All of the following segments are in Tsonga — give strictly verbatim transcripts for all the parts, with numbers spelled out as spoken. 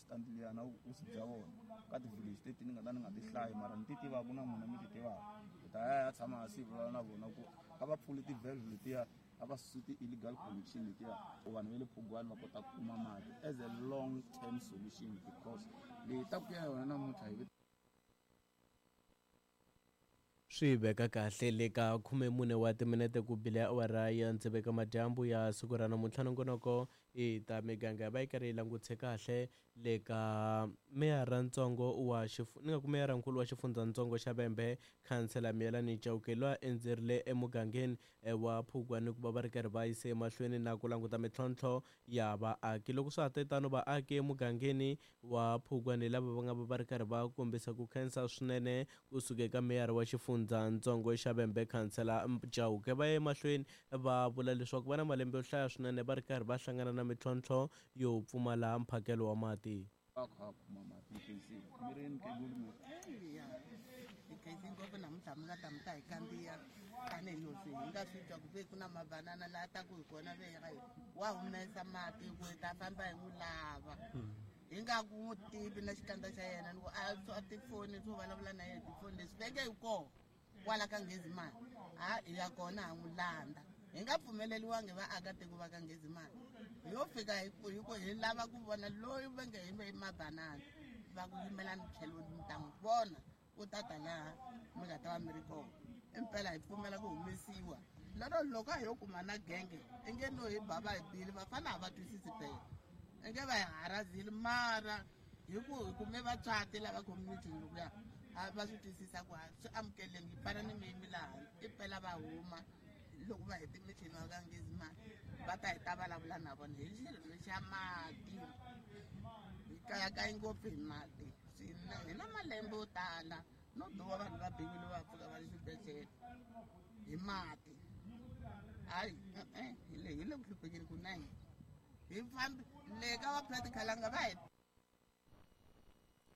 stand liya na vukosi bya vona ka ti-village leti ni nga ta ni nga ti hlayi mara ni ti tivaka na n'wina mi ti tivaka hi ta ya ya tshama hansi hi vulavula na vona ku a va pfuli ti-valve letiya a va susi ti-illegal connection letiya ku vanhu va le Phugwani va kota ku kuma mati as a long term solution because leyi ta ku ya yona namuntlha hi Swi veka kahle le ka khumemune wa timinete ku bile awara ya tsevu eka madyambu ya siku ra namuntlha. Nongonoko i ta miganga va yi karhi yi langutise kahle le ka meyarantsongo wa ni nga ku meyarankulu wa xifundzatsongo xa Vhembe, khansela Miyelani Chauke, loyi a endzerile emugangeni wa Phugwani ku va va ri karhi va yise emahlweni na ku languta mintlhontlho ya vaaki. Loko swa ha te tano, vaaki emugangeni wa Phugwani lava va nga va va ri karhi va kombisa ku khensa swinene kusuka eka meyara wa xifundzatsongo xa Vhembe, khansela Chauke, va ya emahlweni va vula leswaku va na malembe yo hlaya swinene va ri karhi va hlangana na mintlhontlho yo pfumala mphakelo wa mati. Va kha va kuma mati khensile mi ri mukhegulu mi Eya, hi khensi ngopfu namuntlha mi nga ta mi ta hi kandziya tanihileswi hi nga swi twa ku ve ku na mabanana laha taku hi kona ve hi wa humesa mati ku hi ta famba hi n'wi lava hi nga ku n'wi tivi na xikandza xa yena ni ku a swa tifoni swo vulavula na yena tifoni leswi ve nge hi kona kwala ka Nghezimani ha hi ya kona ha n'wi landza hi nga pfumeleliwangi vaakatiko va ka Nghezimani hi yo fika hi ku hi ku hi lava ku vona loyi va nge hi ve mabanana va ku yimelani tlhelo mi ta n'wi vona u ta ta laha mi nga ta va mi ri kona impela hi pfumela ku humesiwa lero loko a hi yo kuma na genge i nge no hi ba va hi bile vafana a va twisisi phela i nge va hi harazile mara hi ku hi kume vatswati lava community lokuya a va swi twisisa ku swi amukeleni yi fana ni miyimi laha impela va huma loko va hete mithini wa ka Nghezimani va ta hi ta vulavula na vona hi xilo xa mati hi kayakayi ngopfu hi mati swinene hi na malembe yo tala no biwa vanhu va biwile va pfuka va le xibedhlele hi mati hayi e-e hi le hi le ku hluphekeni kunene hi fambi le ka va practicalanga va hi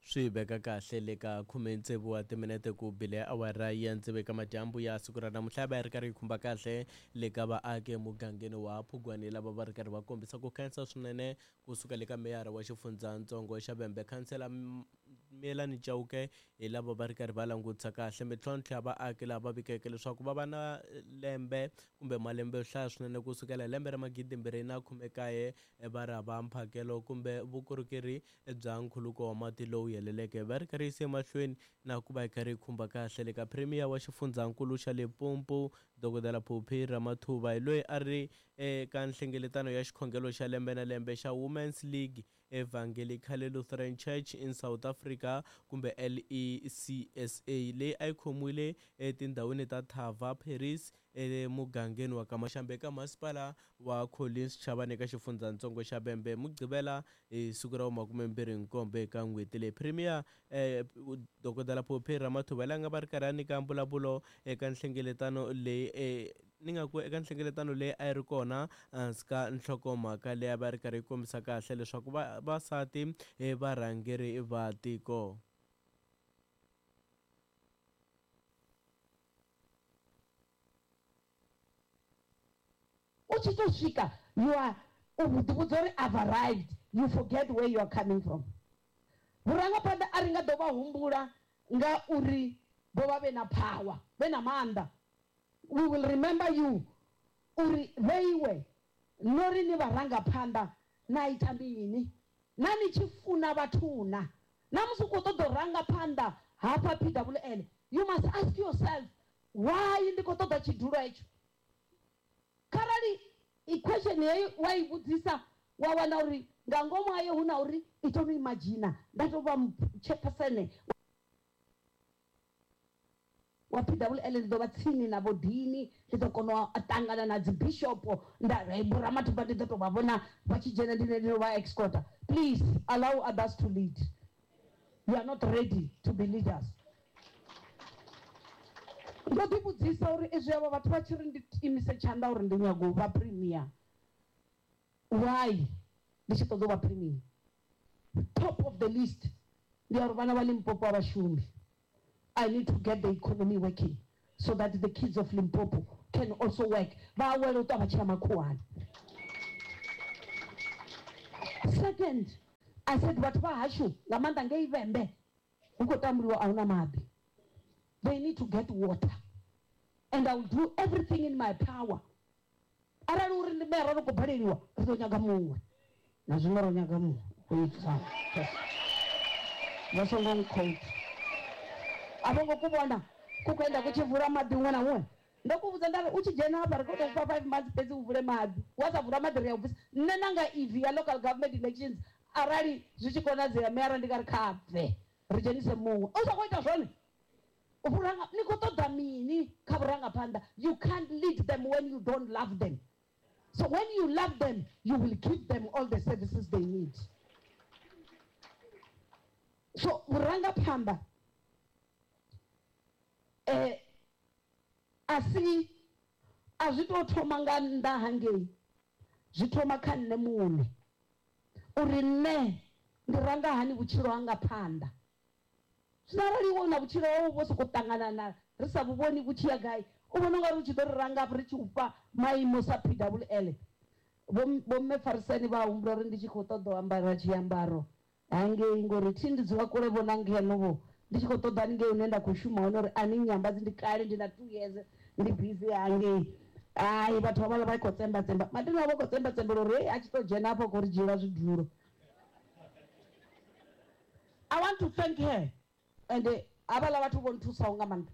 Swi veka kahle le ka khume tsevu wa timinete ku bile awara ya tsevu eka madyambu ya siku ra namuntlha va yi ri karhi yi khumba kahle le ka vaaki emugangeni wa Phugwani lava va ri karhi va kombisa ku khensa swinene kusuka le ka meyara wa xifundzatsongo xa Vhembe, khansela Miyelani Chauke, hi lava va ri karhi va langutisa kahle mintlhontlho ya vaaki lava vikeke leswaku va va na lembe kumbe malembe yo hlaya swinene kusukela hi lembe ra magidi mbirhi na khume kaye va ri hava mphakelo kumbe vukorhokeri bya nkhuluko wa mati lowu heleleke. Va ri karhi yise emahlweni na ku va yi karhi yi khumba kahle le ka premier wa xifundzankulu xa Limpopo, Dokodela Phophi Ramathuba, hi loyi a ri eka nhlengeletano ya xikhongelo xa lembe na lembe xa Women's League Evangelical Lutheran Church in South Africa kumbe L E C S A leyi a yi khomiwile etindhawini ta Thava Paris emugangeni wa Kamaxambe eka masipala wa Collins Chabane eka xifundzatsongo xa Vhembe Mugqivela hi siku ra makumembirhi nkombo eka n'hweti leyi. Premier eh, Dokodela Phophi Ramathuba la nga va ri karhi a nyika mbulavulo eka nhlengeletano leyi eh, ni nga ku eka nhlengeletano leyi a yi ri kona hansi ka nhlokomhaka leyi a va ri karhi yi kombisa kahle leswaku vavasati varhangeri va tiko. U tshi to swika you are u ḓivhudza uri I've arrived, you forget where you are coming from. Vhurangaphanḓa a ri nga ḓo vha humbula nga uri vho vha vhe na power, vhe na maanḓa. We will remember you uri vheiwe no ri ni vharangaphanḓa na ita mini na ni tshi funa vhathu na na musi u khou ṱoḓa u ranga phanḓa hafha P W L, you must ask yourself, why ndi khou ṱoḓa tshidulo hetsho? Kharali i question heyi wa i vhudzisa wa wana uri nga ngomu hayo hu na uri i to imagine nda tou vha chairperson wa P W L, ndi ḓo vha tsini na vhodini, ndi ḓo kona u ṱangana na dzi bishop nda Vho Ramathuba, ndi ḓo tou vha vhona vha tshi dzhena ndi ndo vha escorta. Please allow others to lead. You are not ready to be leaders. Ndo ḓi vhudzisa uri izwi avho vhathu vha tshi ri ndi imise tshanḓa uri ndi nyago u vha premier, why ndi tshi ṱoḓa u vha premier? Top of the list ndi ya uri vhana vha Limpopo a vha shumi. I need to get the economy working so that the kids of Limpopo can also work, vha awele u ṱwa vha tshi ya makhuwani. Second, I said vhathu vha hashu nga maanḓa ngei Vhembe hu khou tambuliwa a huna maḓi. They need to get water. And I will do everything in my power. Arali uri ndi mera ri khou baleliwa ri ḓo nyaga muṅwe. Na zwino ro nyaga muṅwe. Vha songo nkhouta. A vho ngo ku vhona ku khou enda ku tshi vula maḓi huṅwe na huṅwe. Ndo ku vhudza nda ri u tshi dzhena hafha ri khou tou fha five months fhedzi u vule maḓi. Wa sa vula maḓi ri a u bvisa. Nṋe nanga E V ya local government elections arali zwi tshi konadzea meyara ndi nga ri kha bve ri dzhenise muṅwe. U sa khou ita zwone. Vhuranga ni khou ṱoḓa mini kha vhurangaphanḓa? You can't lead them when you don't love them. So when you love them, you will give them all the services they need. So vhurangaphanḓa eh a si a zwi tou thoma nga nnḓa hangei, zwi thoma kha nṋe muṋe uri nṋe ndi ranga hani vhutshilo hanga phanḓa. Zwino arali iwe una vhutshilo hau vho sokou ṱangana na ri sa vhu vhoni vhu tshi ya gai, u vhona ungari u tshi ḓo ri ranga ri tshi u fha maimo sa P W L. Vho mme Farisani vha humbula uri ndi tshi khou ṱoḓa u ambara tshiambaro hangei ngori thi ndi dzula kule vho na ngeno vho ndi tshi khou ṱoḓa haningei hune nda khou shuma hone uri a ni nyambadzi ndi kale ndi na two years ndi busy hangei. Hai vhathu havhaḽa vha khou tsemba tsemba mathina vha khou tsemba tsembela uri hei a tshi tou dzhena hafha khou ri dzhiela zwidulo. I want to thank her and havhaḽa vhathu vho nthusaho nga maanḓa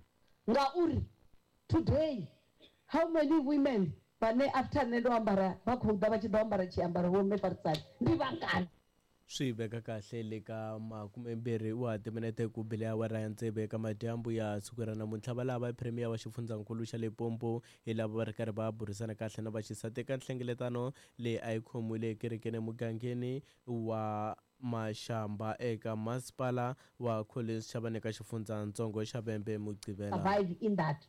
ngauri today how many women vhane after nṋe ndo ambara vha khou ḓa vha tshi ḓo ambara tshiambaro vho mme Farisani ndi vhangana? Swi veka kahle le ka makumembirhi wa timinete ku bile awara ya tsevu eka madyambu ya siku ra namuntlha. Va lava premier wa xifundzankulu xa Limpopo hi lava va ri karhi va burisana kahle na vaxisati eka nhlengeletano leyi a yi khomiwile ekerekeni emugangeni wa Mashamba eka masipala wa Collins Chabane eka xifundzatsongo xa Vhembe Mugqivela. Survive in that.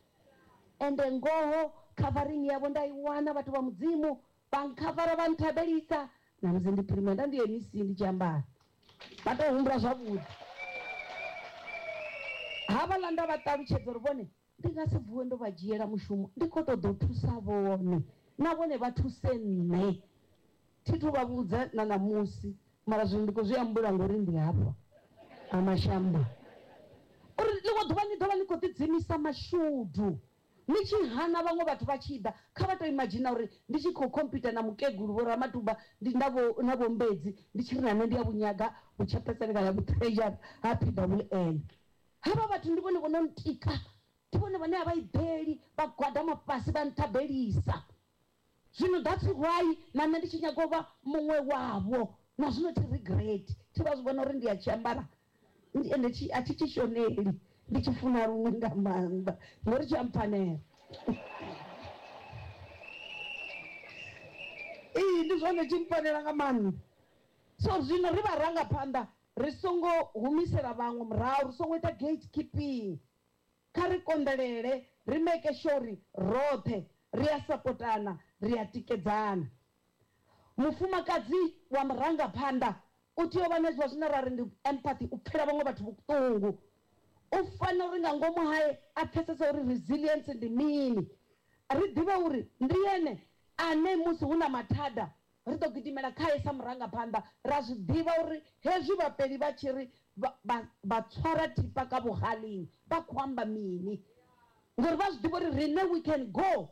And ngoho covering yavho nda i wana vhathu vha Mudzimu vha nkhavara vha nthabelisa. Na musi ndi premier nda ndi M C ndi tshi ambara vha tou humbula zwavhuḓi. Havhaḽa nda vha ṱalutshedza uri vhone ndi nga si vuwe ndo vha dzhiela mushumo, ndi khou ṱoḓa u thusa vhone na vhone vha thuse nṋe. Thi thu vha vhudza na ṋamusi mara zwino ndi khou zwi ambula ngori ndi hafha ha Mashamba uri ḽiṅwe ḓuvha ni ḓovha ni khou ḓidzimisa mashudu ni tshi hana vhaṅwe vhathu vha tshi ḓa. Kha vha tou imadzhina uri ndi tshi khou khompyuta na mukegulu vho Ramatuba ndi na vho na vho Mbedzi ndi tshi ri na nṋe ndi ya vhunyaga vhutshepheseni kana vhutreasure ha P W L. Havha vhathu ndi vhone vho no ntika, ndi vhone vhane a vha iḓeli vha gwadama fhasi vha nthabelisa. Zwino that's why na nṋe ndi tshi nyaga u vha muṅwe wavho. Na zwino thi regret, thi vha zwi vhona uri ndi a tshi ambara ende a thi tshi shoneli, ndi tshi funa luṅwe nga maanḓa ngori tshi a mpfanela. Ee ndi zwone tshi mpfanela nga maanḓa. So zwino ri vharangaphanḓa ri songo humisela vhaṅwe murahu, ri songo ita gatekeeping. Kha ri konḓelele, ri make sure uri roṱhe ri a sapotana, ri a tikedzana. Mufumakadzi wa murangaphanḓa u tea u vha na zwiḽa zwine ra ri ndi empathy, u pfhela vhaṅwe vhathu vhuṱungu. U fanela uri nga ngomu hae a pfhesese uri resilience ndi mini. Ri ḓivhe uri ndi ene ane musi hu na mathada ri ḓo gidimela khae sa murangaphanḓa, ra zwi ḓivha uri hezwi vhapeli vha tshi ri vha tswara thipa ka vhuhalini vha khou amba mini, ngori vha zwi ḓivha uri riṋe we can go,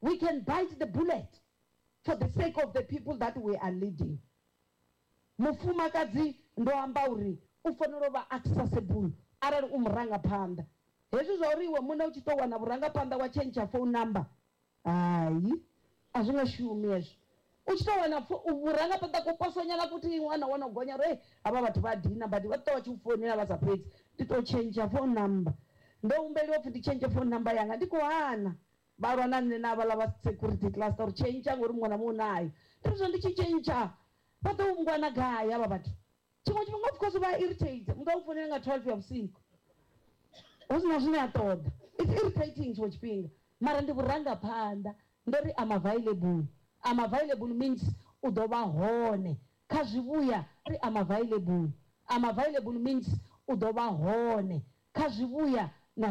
we can bite the bullet for the sake of the people that we are leading. Mufumakadzi ndo amba uri u fanela u vha accessible arali u murangaphanḓa. Hezwi zwa uri iwe muṋe u tshi tou wana vhurangaphanḓa wa tshentsha phone number, hai a zwi nga shumi hezwo. U tshi tou wana vhurangaphanḓa kuposonyana kuti ṅwana wana u gonya uri havha vhathu vha dina badi vha ṱwa tshi u founela vha sa fhedzi, ndi tou tshentsha phone number. Ndo humbeliwa upfhi ndi tshentshe phone number yanga, ndi khou hana. Vha lwa na nṋe na havhaḽa vha security cluster uri tshentsha ngori muṅwe na muṅwe nayo. Ndi ri zwo ndi tshi tshentsha vha ḓo ngwana gai havha vhathu? Tshiṅwe tshifhinga of course vha irritate, muthu a u founela nga twelve ya vhusiku hu si na zwine a ṱoḓa. It's irritating tshiṅwe tshifhinga, mara ndi vhurangaphanḓa. Ndo ri I'm available. I'm available means u ḓo vha hone kha zwivhuya. Ri I'm available. I'm available means u ḓo vha hone kha zwivhuya